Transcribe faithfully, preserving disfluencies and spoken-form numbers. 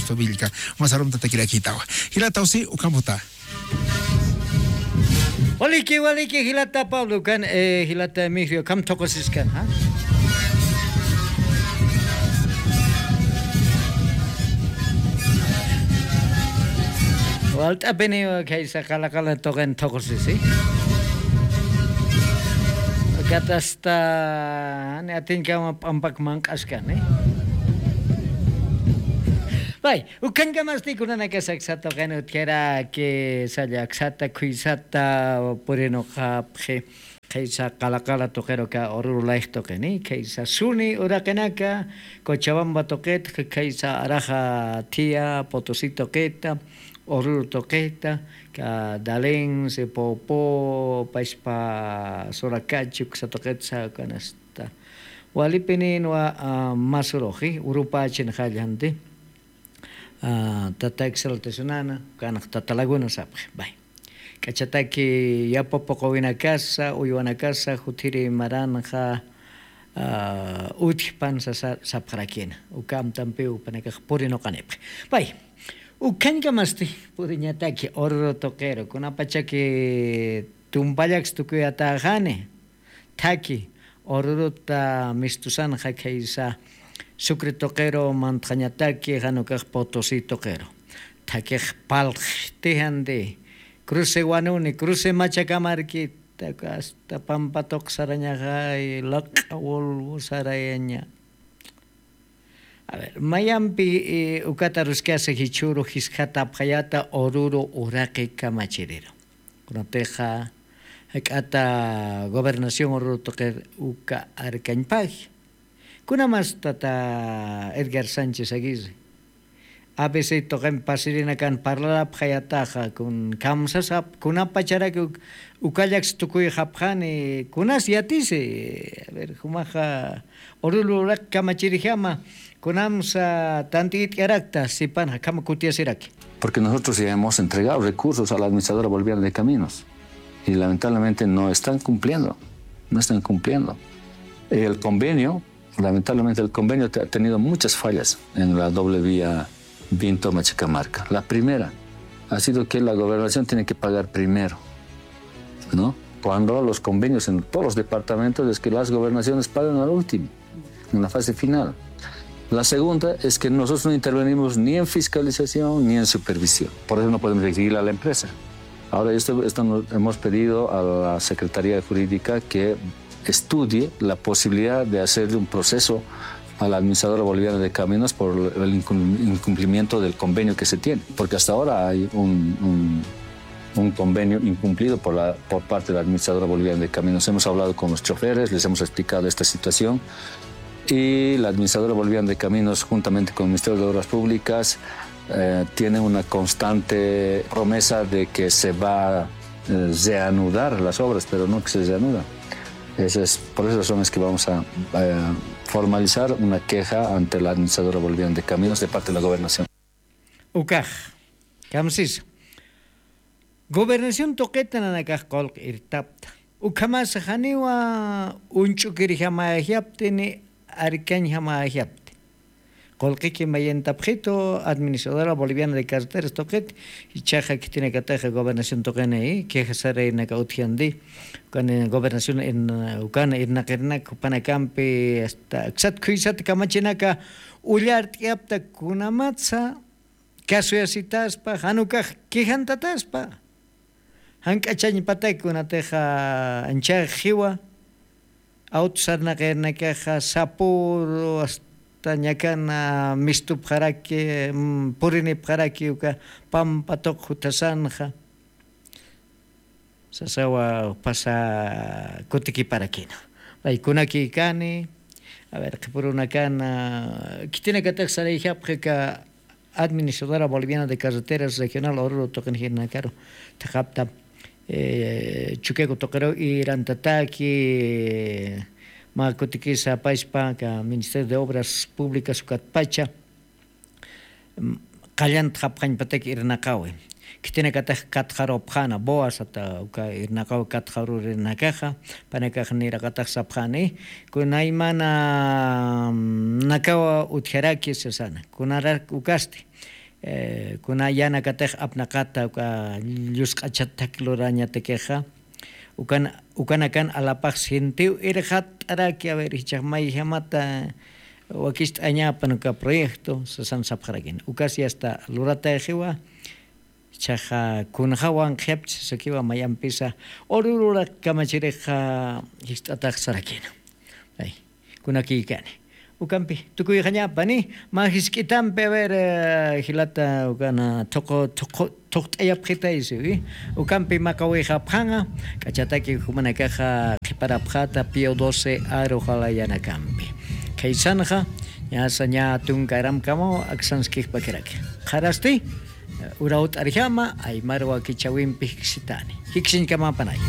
Tobillka. Masarumta takirakitawa. Jilataw si ukamputa. Waliki waliki jilata Pablo kan, jilata Emigrio kam toqosiskan ha. Walt'apini kaysa qalaqala toqen toqosisi. Katasta ni atinkama p'ampak manq'askani. Bay, ukankamasti kunanakasa aksata uqin utjaraki salla aksata khuysata purinuqapxi. Khaysa qalaqala tuqiru ka ururu layx tuqini khaysa suni uraqinaka, cochabamba tuqitxa khaysa araxa thia potosi tuqita, ururu tuqita, ka dalin sipupu paspa surakachu ksa tuqitsa kanasta. Walipininwa masuruxi urupächin qallanti. Tata exaltacionana kanax tata laguna sapxi bay. K'achataki yapapuqawinakasa uywanakasa juthiri maranxa utjpan sasa sapxarakina. Uka amtampiw panakax purinuqanipxi bay. Ukhañkamasti puriñataki ururu tuqiru kunapachaki tumpallaks tukuyatäxani. Thaki ururuta mistusanxa khaysa sucre tuqiru mantxañataki janukax potosi tuqiru. Thakix palxtijandi cruce wanuni cruce machakamarkita asta pampa tuq sarañaxay laq'a wulwu sarayaña. Mayampi ukata ruskasa jichhuru jiskatapxayata ururu uraqi kamachiriru. Kunatixa jak'ata gobernación ururu tuqir uka arkañpagi. Kunamas tata edgar sánchez aguirri abc tuqin pasirinakan parlarapxayataxa kun kamsasap kunapacharaki ukallaks tukuyxapxani kunas yatisi. Jumaxa ururu uraq kamachirjama kunamsa tant'it'yarakta sipanxa khama kutiyasiraki. Porque nosotros ya hemos entregado recursos a la administradora boliviana de caminos y lamentablemente no están cumpliendo. No están cumpliendo. El convenio lamentablemente el convenio ha tenido muchas fallas en la doble vía vinto machacamarca. La primera ha sido que la gobernación tiene que pagar primero, no, cuando los convenios en todos los departamentos es que las gobernaciones pagan al último, en la fase final. La segunda es que nosotros no intervenimos ni en fiscalización ni en supervisión, por eso no podemos exigir a la empresa. Ahora esto hemos pedido a la secretaría jurídica que estudie la posibilidad de hacerle un proceso a la administradora boliviana de caminos por el incumplimiento del convenio que se tiene, porque hasta ahora hay un convenio incumplido por parte de la administradora boliviana de caminos. Hemos hablado con los choferes, les hemos explicado esta situación y la administradora boliviana de caminos juntamente con el ministerio de obras públicas tiene una constante promesa de que se va a reanudar las obras, pero no que se reanuda. Por esas razones que vamos a formalizar una queja ante la administradora boliviana de caminos de parte de la gobernación. Ukax kamsisa gobernación tuqita nanakax qulq irtapta. Ukhamasa janiwa uñch'ukirjamäjapti ni arkañjamäjapti. Qullqiki mayintapxitu administradora boliviana de carreteras tuqit ichaxa khitinakataxa gobernación tuqini queja saraynaka utjandi. Ukani gobernación ukan irnaqirnak jupanakampi asta aksat khuysat kamachinaka ullart'yapta kunamatsa kasuyasitaspa janukax quejantataspa. Jank'achañpatak kunatixa anchax jiwa awtu sarnaqirnakaxa sapuru asta ñakana mistupxaraki purinipxaraki uka pampa tuq juthasanxa. Sasawa pasa kutikiparakina paykunakikani. A ver qhipurunakana khitinakatax sarayjapxi ka administradora boliviana de carreteras regional ururu tuqinjirnakaru thaqapta chukiaku tuqiru irantataki mä kutikisa apaspa ka ministerio de obras públicas ukatpacha qallantxapxañpatak irnaqawi. Khitinakatax katxarupxana boas ata uka irnaqawi katxarurinakaxa panakax niraqatax sapxani kunaymana nakawa utjaraki sasana kunarak ukasti. Kuna yanakatix apnaqata uka llusq'achat thak lurañatakixa, ukan ukanakan alapax sintiw irxat'araki a ver jichhax mayjamata wakist'añapan uka proyecto sasan sapxarakina ukas yasta lurataxiwa. Jichhaxa kunxawan qhiyapchi sasakiwa mayampisa urururaq kamachirixa jist'atax sarakina. Kunakïkani ukampi tukuyxañapani mä jisk'itampi a ver jilata ukana thuqt'ayapxitaysiwi. Ukampi maqawixapxanxa k'achataki jumanakaxa qhiparapxata pío doce aruxalayanakampi. Khaysanxa ñasa ñä tunka aramkamaw aksanskixpakiraki qharasti urawt'arjama aymar wakichäwimpi jiksitani jiksiñkamapanay.